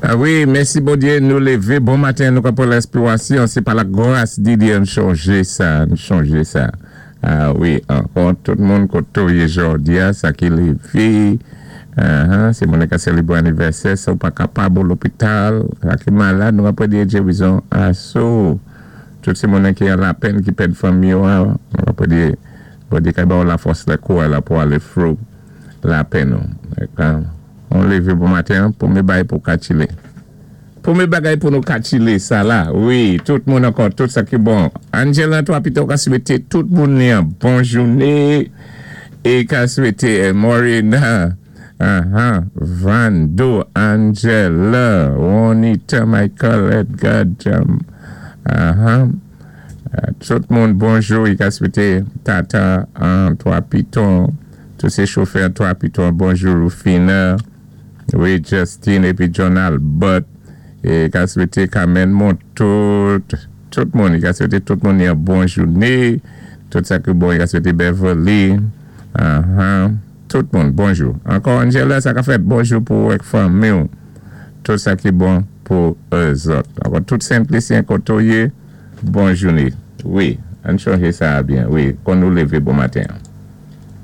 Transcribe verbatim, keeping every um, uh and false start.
Ah wi, mèsi Bondyé, nou lévé. Bon maten, nou pran lenspirasyon. Sé pa la gras di Dye, nou chonjé sa, nou chonjé sa. Ah wi, ankò, tout moun koto jòdi a, sa ki lévé. Uh-huh, sé moun ki sélébré anivèsè, sa ou pa kapab lopital, sa ki malad, nou ap di gerizon aso. Tout sé moun ki an lapenn, ki pèd fanmi, nou ap di, Bondyé ka ba la fòs la kou la pou alé through lapenn nou. On lévé bon maten pou mé bay pou ka tchilé. Pwémyé bagay pou nou ka tchilé, sa la. Wi, tout moun ankò, tout sa ki bon. Angela, twa pito, ka swété tout moun yon bon jouné. É ka swété Morena, uh-huh, Vando, Angela, Juanita, Michael, Edgar, um, uh-huh. Tout moun bonjou, i ka swété Tata, an, Twa Piton, tout sé chofè Twa Piton, bonjou Rufina, wi, Justin, épi John Albert, é ka swété Carmen Montout, tout moun, i ka swété tout moun yon bon jouné, tout sa ki bon, i ka swété Beverly, uh-huh, tout moun, bonjou. Ankò Angela, sa ka fèt bonjou pou ek fanmi, tout sa ki bon pou zòt. Ankò tout Senplisyen koto yé, bon jouné. Wi, ann chonjé sa byen, wi, kon nou lévé bon maten.